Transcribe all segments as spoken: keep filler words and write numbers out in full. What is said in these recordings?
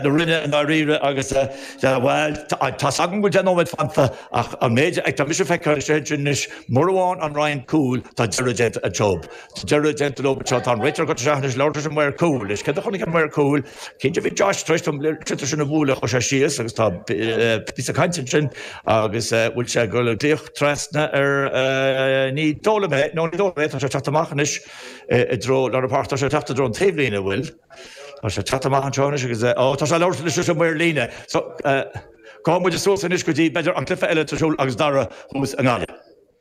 na Rinne i ndáiríre agus bhuel tá's agam go bhfuil deich nóiméad fanta ach an méid ag tá mise ag feiceáil sin anois mura bhfaigheann an Rinn cúl tá deireadh déanta an job. Tá deireadh déanta leo seo tá an réiteoir go teach anois labhairt leis an maor cúil anois céard a chonaic an maor cúil cinnte bhí Josh tar éis dom sliotar sin a bhualadh chuaigh sé síos agus tá píosa cainte ansin agus bhfuil sé ag dul ag glaoch trasna ar ní dóigh liom é nó ní dóigh liom é tá sé ag teacht amach anois i dtreo lár na páirce tá sé ag teacht i dtreo an taobhlíne bhfuil Tá sé ag teacht amach anseo anois agus ó tá sé ag labhairt anois leis an maor líne. So gabhfaidh muid suas anois go dtí b'fhéidir an cluiche eile ar siúl agus Dara thuas i nGaillimh.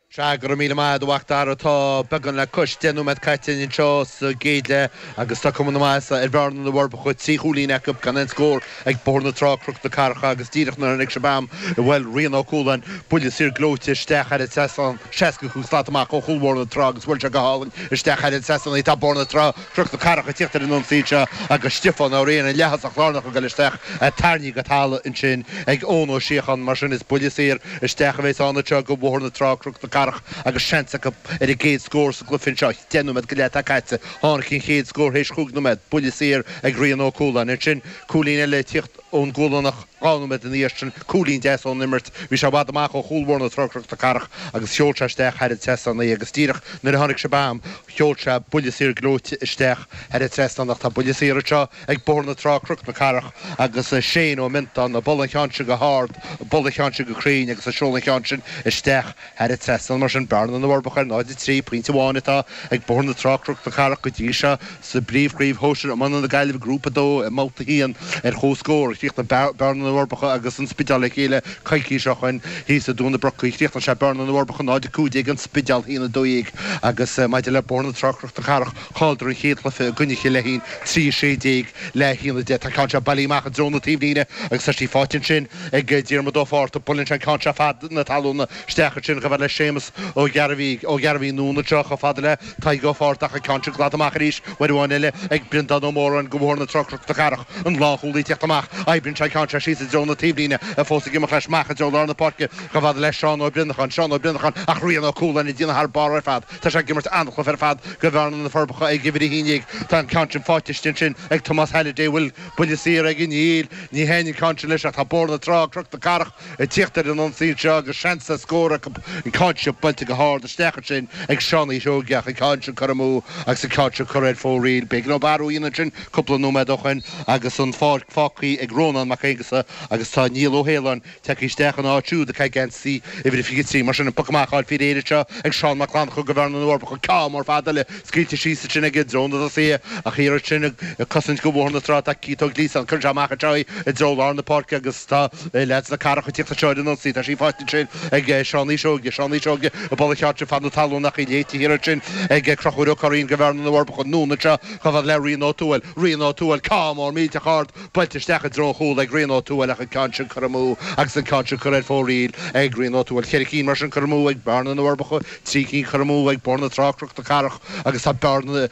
Sea, go raibh míle maith agat a mhac Dara. Tá beagán le cois deich nóiméad caite anseo sa gcéad leath agus tá cuma na maitheasa ar Bhearna na bhForbacha, trí chúilín acu gan aon scór ag Bóthar na Trá, Cnoc na Cathrach agus díreach nuair a tháinig sibh agam, bhuel, Rian Ó Cualáin, buille saor gleoite isteach thar an trasnán, seasca cúig slat amach ó chúl Bhóthar na Trá agus bhuail sé go hálainn isteach thar an trasnán í. Tá Bóthar na Trá, Cnoc na Cathrach ag tíocht ar an ionsaí anseo agus Stiofán Ó Riain, an leath-thosach lárnach ag dul isteach, tarraingthe go talamh ansin ag Eoin Ó Síocháin. Mar sin is buille saor isteach a bheas ann anseo do Bhóthar na Trá, Cnoc na Cathrach agus seans acu ar an gcéad scór sa gcluiche anseo. Deich nóiméad go leith atá caite. Tháinig an chéad scór théis chúig nóiméad, buille saor ag Rian Ó Cualáin. Ansin cúilín eile ag tíocht ón gCualánach dhá nóiméad ina dhiaidh sin, cúilín deas ón imirt. Bhí sé i bhfad amach ó chúl Bhóthar na Trá, Cnoc na Cathrach agus sheol sé isteach thar an trasnán í agus díreach nuair a tháinig sibh agam, sheol sé buille saor gleoite isteach thar an trasnán ach tá buille saor anseo ag Bóthar na Trá, Cnoc na Cathrach agus Shane Ó Miontáin ag bualadh an cheann sin go hard, ag bualadh an cheann sin go cruinn agus ag seoladh an cheann sin isteach thar an trasnán. Mar sin, Bearna na bhForbacha ar náid a trí, pointe amháin atá ag Bóthar na Trá, Cnoc na Cathrach go dtí seo sa bpríomhchraobh shóisir iomána na Gaillimhe, Grúpa a dó i mbabhta a haon ar comhscór. Chríochnaigh Bearna na bhForbacha agus an Spidéal le chéile coicís ó shoin thíos i dTuath na Brocaí. Chríochnaigh sé Bearna na bhForbacha náid a cúig déag, An Spidéal a haon a dó dhéag agus maidir le Bóthar na Trá, Cnoc na Cathrach, chailleadar an chéad chluiche i gcoinne Chill Leithín, trí a sé déag le haon a deich. Tá an ceann seo bailithe amach i dtreo na taobhlíne agus tá sí faighte ansin ag Diarmuid Ó Fátharta. Buaileann sé an ceann seo fad na talún isteach ansin chomh fada le Séamus Ó Ghearbhaigh, Ó Ghearbhaigh anonn anseo chomh fada le Tadhg Ó Fátharta ach an ceann sin glanta amach arís uair amháin eile ag Breandán Ó Móráin do Bhóthar na Trá Cnoc na Cathrach. An lánchúlaí ag teacht amach. Oibríonn sé an ceann seo síos i dtreo na taobhlíne, fós ag imeacht leis amach i dtreo lár na páirce chomh fada le Seán Ó Brionacháin, Seán Ó Brionacháin ach Rian Ó Cualáin ag déanamh thar barr ar fad. Tá sé ag imirt an-chluiche ar fad do Bhearna na Forbacha ag uimhir a haon déag. Tá an ceann sin faighte istigh ansin ag Tomás Halliday. Bhfuil buille saor aige? Níl. Ní thaitníonn an ceann sin leis ach tá Bóthar na Trá, Cnoc na Cathrach ag tíocht ar an ionsaí anseo agus seans ar scór acu. An ceann seo buailte go hard isteach ansin ag Seán Uí Shóige ach an ceann sin curtha amú agus an ceann sin curtha ar fóraoil. B'éigean dóibh athrú a dhéanamh ansin cúpla nóiméad ó shoin agus an pháirc fágtha ag Rónán Mac Aonghusa agus tá Niall Ó hAoláin tagtha isteach ina áit siúd ag geansaí uimhir a fiche trí. Mar sin, an poc amach á fháil faoi réir anseo ag Seán Mac Fhlannchadha do Bhearna na bhForbacha. Ceann mór fada eile scaoilte síos ansin aige i dtreo na dtosaithe ach iarraidh sin ag cosaint do Bhóthar na Trá tá Keith Ó Gliasáin. Cuireann sé amach anseo í i dtreo lár na páirce agus tá leaids na Cathrach ag tíocht anseo ar an ionsaí. Tá sí faighte ansin ag Seán Uí Seoige. Seán Uí Seoige ag bualadh an cheann sin fad na talún ach í léite thiar ansin ag Conchúr Ó Curraoin do Bhearna na bhForbacha. Anonn anseo chomh fada le Rian Ó Tuathail. Rian Ó Tuathail, ceann mór millteach ard buailte isteach i dtreo an chúil ag Rian Ó Tuathail ach an ceann sin curtha amú agus an ceann sin curtha ar fóraoil ag Rian Ó Tuathail. Ceithre cinn mar sin curtha amú ag Bearna na bhForbacha, trí cinn curtha amú ag Bóthar na Trá, Cnoc na Cathrach agus tá Bearna,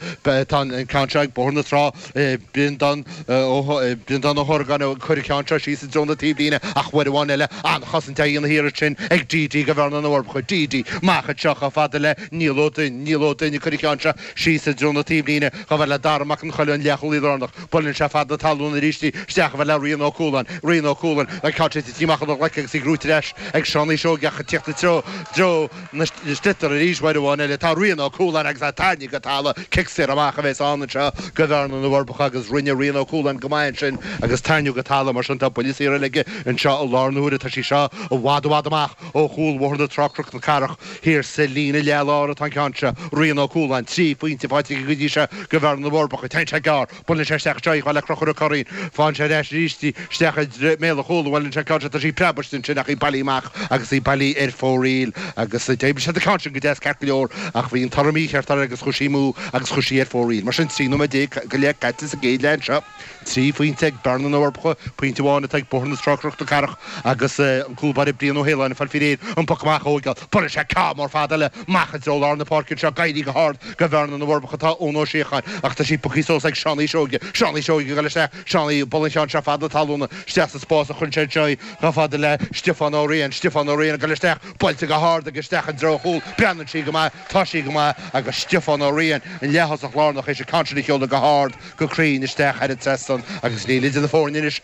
tá an ceann seo ag Bóthar na Trá, Breandán Ó Breandán Ó hOrgáin ag cur an ceann seo síos i dtreo na taobhlíne ach uair amháin eile an-chosaint á dhéanamh thiar ansin ag D D do Bhearna na bhForbacha. D D amach anseo chomh fada le Niall Ó Duinn, Niall Ó Duinn ag cur an ceann seo síos i dtreo na taobhlíne chomh fada le Dara Mac an Choill, an leathchúlaí lárnach. Buaileann sé fad na talún arís í isteach chomh fada le Rian Ó Cualáin. Rian Ó Cualáin, an ceann sin tite amach óna ghlaic agus í gnóite ar ais ag Seán Uí Seoige ach ag tíocht i dtreo dtreo na sliotar arís uair amháin eile tá Rian Ó Cualáin agus é tarraingthe go talamh. Cic saor amach a bheas ann anseo do Bhearna na bhForbacha agus rinne Rian Ó Cualáin go maith ansin agus tarraingíodh go talamh mar sin tá buille saor eile aige anseo i láthair na huaire. Tá sí seo i bhfad i bhfad amach ó chúl Bhóthar na Trá Cnoc na Cathrach. Thiar sa líne leath-lár atá an ceann seo. Rian Ó Cualáin, trí phointe faighte aige go dtí seo do Bhearna na bhForbacha. Téann sé gearr. Buaileann sé isteach anseo í chomh fada le Conchúr Ó Curraoin. Faigheann sé ar ais arís í isteach i mbéal an chúil. Buaileann sé an ceann seo. Tá sí preabtha ansin ach í bailithe amach agus í bailithe ar fóraoil. Agus d'oibrigh siad an ceann sin go deas ceart go leor ach bhí an toradh mícheart air agus chuaigh sí amú agus chuaigh sí ar fóraoil. Mar sin, trí nóiméad déag go leith caite sa gcéad leath anseo. Trí phointe ag Bearna na bhForbacha, pointe amháin atá ag Bóthar na Trá Cnoc na Cathrach agus an cúl báire Brian Ó hAoláin ag fáil faoi réir an poc amach a thóigeáil. Buaileann sé sé ceann mór fada eile amach i dtreo lár na páirce anseo ag éirí go hard go Bhearna na bhForbacha atá Eoin Ó Síocháin ach tá sí pioctha suas ag Seánie Seoige Seánie Seoige ag dul isteach Seánie ag bualadh an cheann seo fada talúna isteach sa spás a chuireann sé anseo í chomh fada le Stiofán Ó Riain Stiofán Ó Riain ag dul isteach buailte go hard aige isteach i dtreo an chúil breathnaíonn sí go maith tá sí go maith agus Stiofán Ó Riain an leath-thosach lárnach théis an ceann sin a sheoladh go hard go cruinn isteach thar an trasnán agus níl idir na foirne anois